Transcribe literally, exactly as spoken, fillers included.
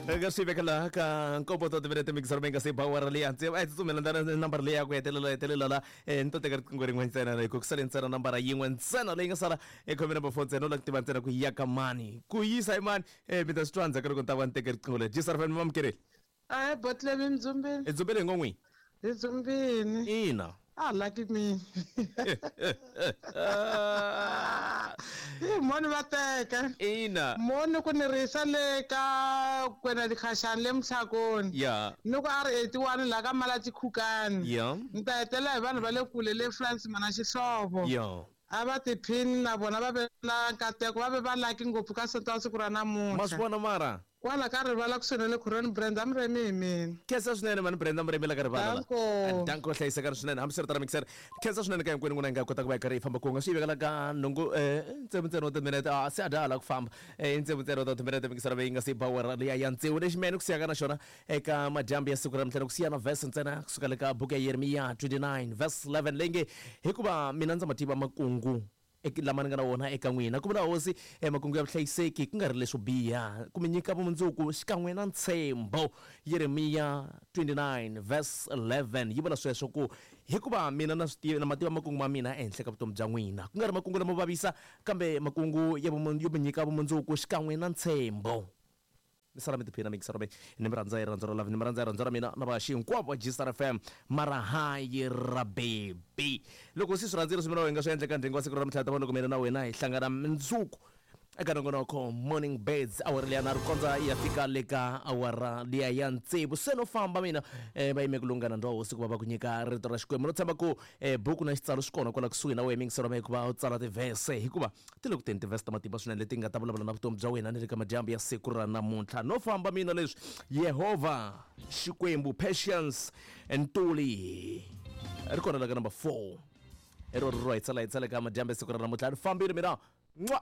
Eka swi veka laha ka nkombo ta timinete mikisaro mi nga se ba awara leyi hansi a hi tsutsumela ndzana nambara leyi ya ku hetelela hetelela la eh, ni to teka riqingho rin'we ntsena hi ku sale ntsena nambara yin'we ntsena leyi nga sala e khome number four ntsena u lava ku tiva ntsena ku ya ka mani ku yisa hi mani um mi ta swi twa ndzhaku ka loko ni ta va ni teke riqingho leri G S R F M, mamukeleli. Ahe, botlemi mdzumbini. I dzumbele hi ngo n'wini. Hi dzumbini. Ina. A lucky me. Hi moni va teka. Ina. Moni ku ni risa le ka kwena dikhaxani le Mhlakoni. Ya. Ni ku a ri eighty-one la ka Malati Khukani. Ya. Ni ta hetelela hi vanhu va le kule le France mana xihlovo. Ya. A va tiphini na vona, va ve na nkateko, va ve va laki ngopfu ka sonto wa siku ra ma swi namuntlha. Vona mara. Kwala ka rivala kusuhi na le Khoroni, Brenda Muremi hi mina. Khensa swinene mani Brenda Muremi la ka rivala la. Danko. Danko, hlayisekani swinene. Hambiswiritano mixer, khensa swinene ka hinkwenu n'wina hi nga kota ku va hi karhi hi famba kun'we swi yi vekela ka nhungu um tsevu ntsena wa timinete a se a dya hala ku famba um tsevu ntsena wa timinete mixer leyi nga se ba awara liya ya tsevu. Lexi mene ku siyaka na xona eka madyambu ya siku ra namuntlha ku siya na verse ntsena kusuka le ka buku ya Yeremiya twenty-nine verse eleven leyi nge, "Hikuva mina ndza ma tiva makungu ek- lama ni nga na wona eka n'wina," ku vula Hosi, eh, "makungu ya vuhlayiseki ku nga ri leswo biha, ku mi nyika vumundzuku xikan'we na ntshembo." Yeremiya twenty-nine verse eleven yi vula sweswo ku hikuva mina na swi tiva na mativa makungu ma mina ehenhla ka vutomi bya n'wina, ku nga ri makungu lamo vavisa, kambe makungu ya vumun- yo mi nyika vumundzuku xikan'we na ntshembo. Mi sala mi tiphina mikisaro me ni mi rhandza hi rirhandzu ra love, ni mi rhandza hi rirhandzu ra mina na vaxi hinkwavo va G S R F M, mara hayi ra bebi loko si swi rhandzile swi mina hi nga swi endleka ndhengu wa siku ra namuntlha ta va loko mina na wena hi hlangana mundzuku eka nongonoko Morning Birds, awara liya na ri kondza ya fika le ka awara liya ya tsevu. Se no famba mina, eh, va yime ku lunghana ndwa hosi ku va va ku nyika rito ra Xikwembu. No tshemba ku eh, buku na xitsalo swi kona kwala kusuhi na wena mingisero ma hikuva u tsala tivhese, hikuva ti le ku teni tivhese ta matimba swinene leti nga ta vulavula na vutomi bya wena ni le ka madyambu ya siku ra namuntlha. No famba mina leswi Yehovha Xikwembu, Patience Ntuli ri kona la ka number four, i ro ri ro hi tsala hi tsala ka madyambu ya siku ra namuntlha. Ni fambile mina. N'wa.